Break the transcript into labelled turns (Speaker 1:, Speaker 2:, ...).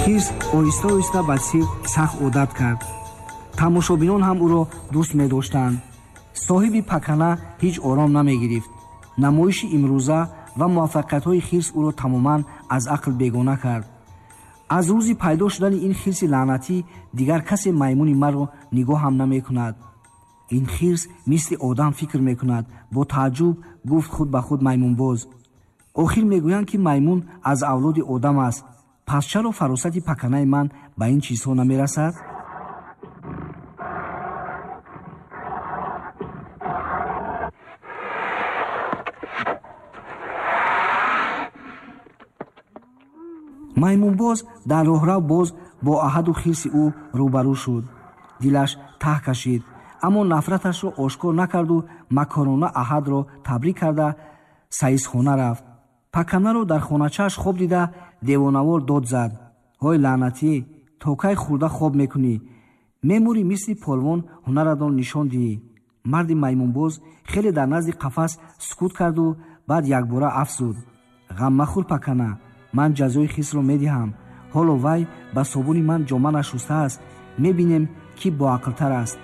Speaker 1: Хирс оҳиста оҳиста ба сирк сахт одат кард. Тамошобинон ҳам ӯро дӯст медоштанд. Соҳиби пакана ҳеҷ ором намегирифт. Намоиши имрӯза ва муваффақиятҳои хирс ӯро тамоман аз ақл бегона кард. Аз рӯзи пайдо шудани ин хирси лаънатӣ дигар касе маймуни маро нигоҳ ҳам намекунад. Ин хирс мисли одам фикр мекунад, бо тааҷҷуб гуфт худ ба худ маймунбоз. Охир мегӯянд, ки маймун аз авлоди одам аст. Пас чаро фаросати паканаи ман ба ин чизҳо намерасад? Маймунбоз дар роҳрав боз бо Аҳаду хирси ӯ рӯбарӯ шуд. Дилаш таҳ кашид, аммо нафраташро ошкор накарду макорона Аҳадро табрик карда саисхона рафт. Паканаро дар хоначааш хоб дида девонавор дод зад: ҳой лаънатӣ, то кай хӯрда хоб мекунӣ? Мемурӣ, мисли полвон ҳунаратро нишон диҳӣ. Марди маймунбоз хеле дар назди қафас сукут карду баъд якбора афзуд: ғам махӯр, пакана, ман ҷазои хирсро медиҳам. Ҳоло вай ба собуни ман ҷома нашустааст. Мебинем, ки боақлтар аст.